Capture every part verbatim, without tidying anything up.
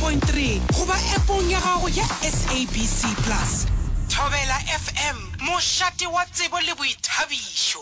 point three goba appong ya gago ya S A B C Plus. Thobela F M, mošate wa tsebo le boithabišo.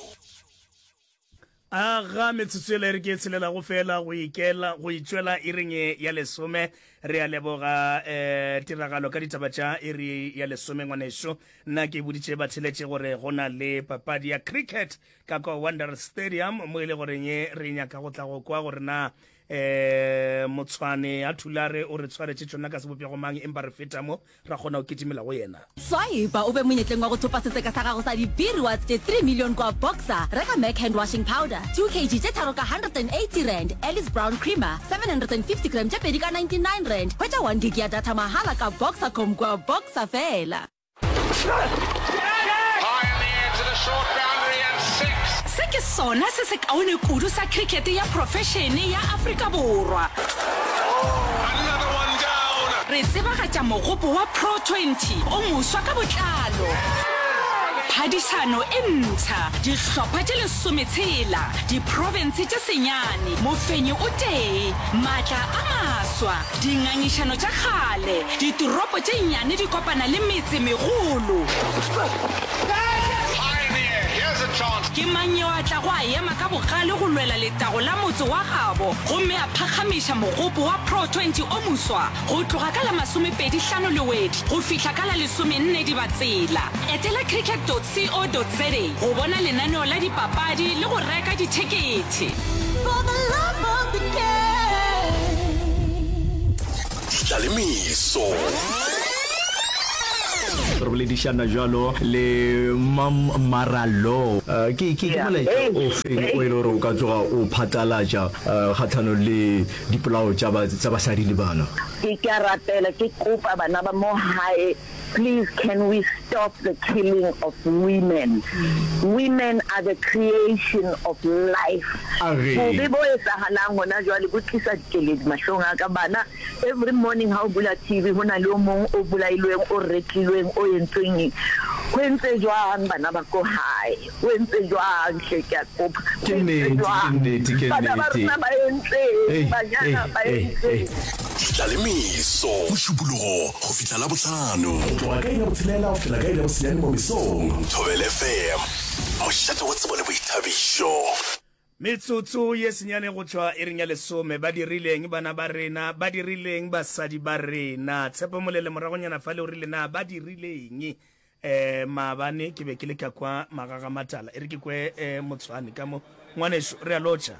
Aga, metsotso ela e re ke e tshelelago fela go ikela go itšwela iring ya lesome. Re a leboga um tiragalo ka ditaba tša iri ya lesome. Ngwaneso, nna ke boditše batheletše gore go na le papadi ya cricket ka kwa Wanderers Stadium, mo e le goreng re nyaka go tla go kwa gore na um Motshwane a Thulare o re tshwaretše tšona ka sebopego mang, empa re feta mo ra kgona go kitimela go yena. Swipe o be monyetleng wa go thopa setseka sa gago sa di-B-Rewards tše three million kwa Boxer. Reka Mac hand washing powder two kg tše tharo ka one hundred and eighty rand, Alice Brown creamer seven hundred and fifty gram tše pedi ka ninety-nine rand. Hwetša one gig ya data mahala ka Boxercom kwa Boxer fela. High in the air to the short boundary and six. Se ke sona se sekaone kudu sa khrikete ya profešene ya Afrika Borwa. Another one down. Re tsebagatša mogopo wa Pro twenty o moswa ka botlalo. Phadišano e mpsha, dihlopha tše lesometshela, diprofense tše senyane, mofenyi o tee, maatla a maswa, dingangišano tša kgale, ditoropo tše nnyane di kopana le metsemegolo. High in the air. Here's a chance. Ke mang yo a tlago a ema ka bogale go lwela letago la motse wa gabo gomme a phakgamiša mogopo wa Pro twenty o moswa? Go tloga ka la masomepedi hlano Lewedi go fihla ka la lesomenne Dibatsela. Etela cricket dot co dot za go bona lenaneo la dipapadi le go reka dithekethe. For the love of the game. Ditlalemeso. Re boledišana jalo le Mam Maralo. Eh, ke ke ke molaetša o feng o e le gore o ka tsoga o phatlalatša eh, kgatlhanong le dipolao tša ba- tša basadi le bana? Ke ke a rapela, ke kopa bana ba mo hae, please, can we stop the killing of women? Women are the creation of life. Age. Bobe bo etsahalang hona jwale bo tlisa dikeledi mahlong a ka. Bana, every morning ha o bula T V, ho na le o mong o bolailweng, o retlilweng, o entsweng eng. Ho entse jwang bana ba ko hae? Ho entse jwang hle? Ke a kopa. Ke Ho entse nnete, ke jwang? nnete, ke Bana ba nnete. rona ba entseng? Ei, Banyana ei, ba ei, entseng? Ei. Ditlalemeso, Mošupologo go fihla Labohlano, go tloga ka iri ya botshelela go fihla ka iri ya bosenyane mo mesong. Thobela F M, mošate wa tsebo le boithabišo. Metsotso ye senyane go tšwa iring ya lesome. Ba dirileng bana ba rena? Ba dirileng basadi ba rena? Tshepo Molele moragonyana fale o rile na ba dirileng? um maabane ke be ke le ka kwa Magagamatala. E re ke kwe um Motshwane ka mo. Ngwaneso, re a lotšha.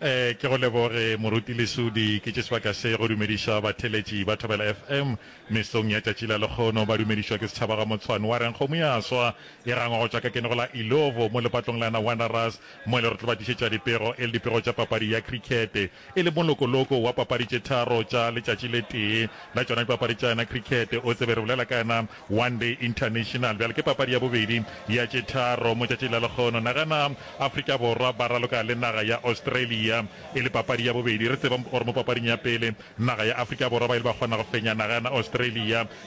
Eh, ke go leboge, Moruti Lesodi. Ke tše sebaka se go dumediša batheletši ba Thobela F M mesong ya tšatši la lekgono. Ba dumedišwa ke setšhaba ga Motshwane wa reng kgomo ya swa e gangwa go tšwa ka kenego la Ilovo mo lepatlong la na Wanderers, mo e le re tlo ba tlišetša dipego e le dipego tša papadi ya cricket, e le molokoloko wa papadi tše tharo tša letšatši le tee la tšona dipapadi tša yona cricket. O tsebe re bolela ka yona One Day International. Bjale ke papadi ya bobedi ya tše tharo mo tšatšing la lekgono. Nagana Afrika Borwa ba raloka le naga ya Australia e le papadi ya bobedi. Re tseba gore mo papading ya pele naga ya Afrika Borwa ba ile ba kgona go fenya naga ya Australia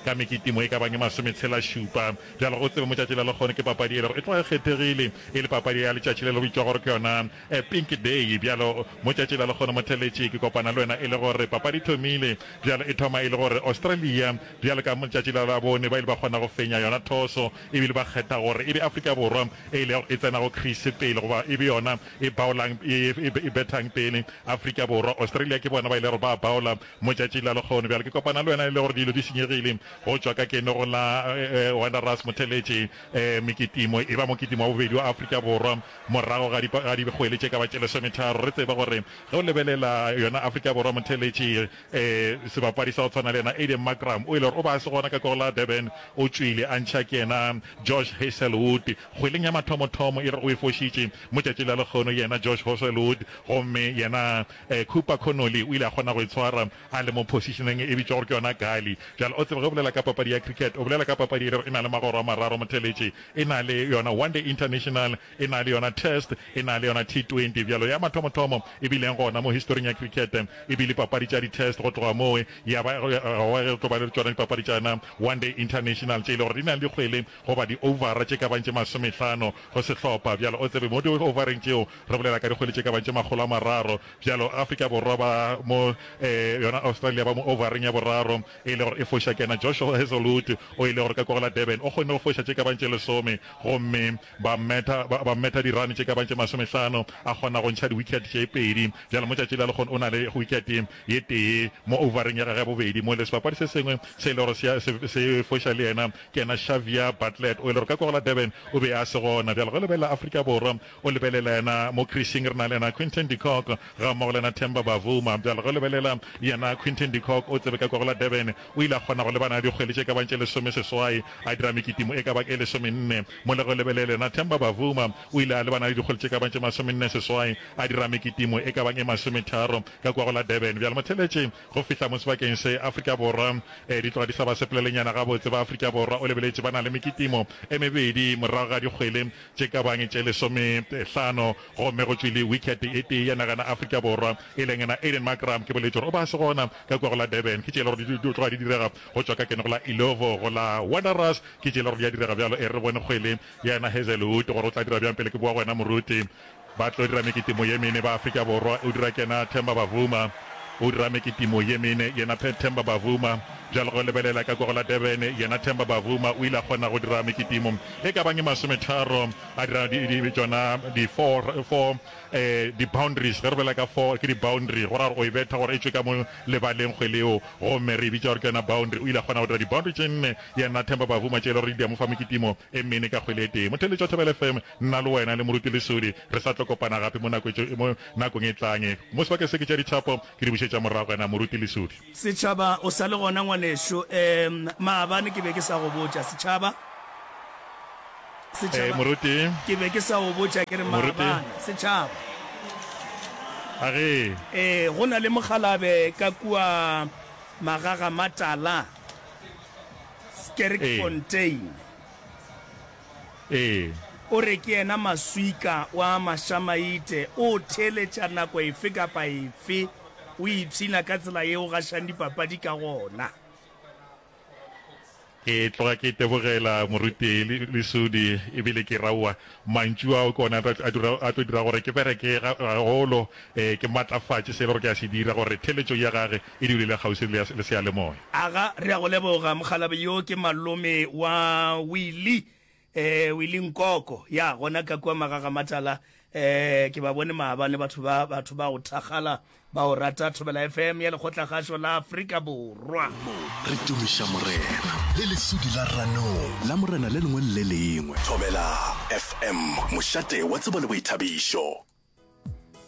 ka mekitimo e ka bang e masometshela šupa. Bjale o tsebe mo tšatši la lekgono ke papadi e lego e tloga e kgethegile, e le papadi ya letšatši le le bitšwa gore ke yona Pink Day. Bjalo mo tšatši la lekgono, motheletši, ke kopana le wena e le gore papadi e thomile. Bjalo e thoma e le gore Australia bjalo ka letšatši la Labone ba ile ba kgona go fenya yona thoso, ebile ba kgetha gore e be Afrika Borwa e ilego e tsena go crease pele, goba e be yona e bowlang, e, e, e bethang pele. Afrika Borwa, Australia ke bona ba ile gore ba bowla mo tšatšing la lekgono. Bjale ke kopana le wena e le gore dilo di senyegile go tšwa ka keno go la eh, Wanderers, motheletši. eh, mekitimo e ba mokitimo wa bobedi wa Afrika Borwa morago ga ga dikgwele tše ka ba tše lesometharo. Re tseba gore ge o lebelela yona Afrika Borwa, motheletši, eh, sebapadi sa go tshwana le yena Aiden Markram o ile gore o ba a se gona ka ko la Durban, o tšwile a ntšha ke yena Josh Hazlewood kgweleng ya mathomothomo e re o e fošitše mo tšatši la lekgono yena Josh Hazlewood, gomme yena eh, Cooper Connolly o ile a kgona go e tshwara a le mo positioneng e bitšwa gore ke yona gully. Bjale o tsebe ge o bolela ka papadi ya cricket, o bolela ka papadi e le gore e na le magoro a mararo, motheletši. E na le yona One Day International, e na le yona Test, e na le yona T twenty. Bjalo ya mathomothomo e bileng gona mo historing ya cricket e bile papadi tša di-Test, go tloga moo ya ba ge tlo ba le tšona dipapadi tša yona One Day International tše e le gore di na le dikgwele goba di-overa tše ka bang tše masomehlano go sehlopha. Bjalo o tsebe mo di-overeng tšeo re bolela ka dikgwele tše ka bang tše makgolo a makgolo a mararo. Bjalo Afrika Borwa ba mo eh, yona Australia ba mo overeng ya boraro e le gore e foša ke yena Joshua Hazelwood o e le gore ka kwa go la Durban o kgonne go foša tše ka bang tše lesome gomme ba mmetha ba, ba mmetha dirane tše ka bang tše masomehlano a kgona go ntšha di-wicket tše pedi. Bjalo mo tšatši la lekgono o na le wicket ye tee mo overeng ya gagwe ya bobedi mo le sebapadi se sengwe se e le gore se, se, se foša le yena ke yena Xavier Bartlett o e le gore ka kwa go la Durban o be a se gona. Bjalo ge o lebelela Afrika Borwa o lebelela yena mo creasing re na le yena Quinton de Kock ga mmogo le yena Temba Bavuma. Bjalo ge o lebelela yena Quinton de Kock o tsebe ka kwa go la Durban o ile a kgona go lebana le dikgwele tše ka bang tše lesome seswai a dira mekitimo e ka bang e lesomenne. Mo le ge o lebelela yena Temba Bavuma o ile a lebana le dikgwele tše ka bang tše masomenne seswai a dira mekitimo e ka bang e masometharo ka kwa go la Durban. Bjalo motheeletši go fihla mo sebakeng se Afrika Borwa di tloga di sa ba sepelelenyana gabotse. Ba Afrika Borwa o lebeletše ba na le mekitimo e mebedi morago ga dikgwele tše ka bang tše lesomehlano gomme go tšwile wicket e tee ya nagana Afrika Borwa e leng yena Aiden Markram. Ke boletše gore o ba se gona ka kua go la Durban. Ke tše e le gore di tloga di direga go tšwa ka kene go la Illovo go la Wanderers. Ke tše e le gore di a direga bjalo. E re bone kgwele ya yena Hazelwood gore o tla dira bjang pele ke boa go wena moruti. Ba tlo dira mekitimo ye mene ba Afrika Borwa. O dira kena Themba Bavuma. O dira mekitimo ye mene yena Themba Bavuma. Bjalo ge o lebelela ka kwa go la Durban, yena Themba Bavuma o ile a kgona go dira mekitimo e ka bang e masometharo, a dira di, di, tšona di four, four eh, di boundaries. Ge re bolela ka four, ke di boundary, go ra gore o e betha gore e tšwe ka mo lebaleng kgwele yeo, gomme re e bitša gore ke yona boundary. O ile a kgona go dira di boundary tše nne, yena Themba Bavuma, tše e le gore di a mo fa mekitimo e mene ka kgwele e tee. Motheeletši wa Thobela F M, nna le wena le Moruti Lesodi re sa tlo kopana gape mo nako e, mo nakong e tlang. Mo sebakeng se ke tša dithapo ke di bušetša morago wena Moruti Lesodi. Setšhaba, o sa le gona ngwanešu? Um, maabane ke be ke sa go botša, setšhaba. Setšhaba, Ee, Moruti. Ke be ke sa go botša ke re Moruti. maabane, setšhaba. A ge. Ee, go na le mokgalabe ka kua Magagamatala, Ee. Sterkfontein. Ee. O re ke yena maswika wa Mašamaite, o theeletša nako efe kapa efe, o ipshina ka tsela ye o gašang dipapadi ka gona. Ke tloga ke itebogela Moruti Lesodi ebile ke raowa mantšu ao ke ona a tlo dira gore ke bereke gagolo, ke matlafatše se e le gore ke a se dira gore theeletšo ya gage e dule e le kgauswi le seyalemoya. Aga, re a go leboga mokgalabje yo ke malome wa Willie Eh, Willie Nkoko, ya, gona ka kua Magagamatala, eh, ke ba bone maabane batho ba, batho ba go thakgala, ba go rata Thobela F M ya Lekgotlakgašo la Afrika Borwa. Mo re tumiša Morena le lesudi la ranong la Morena le lengwe le le lengwe. Thobela F M, mošate wa tsebo le boithabišo.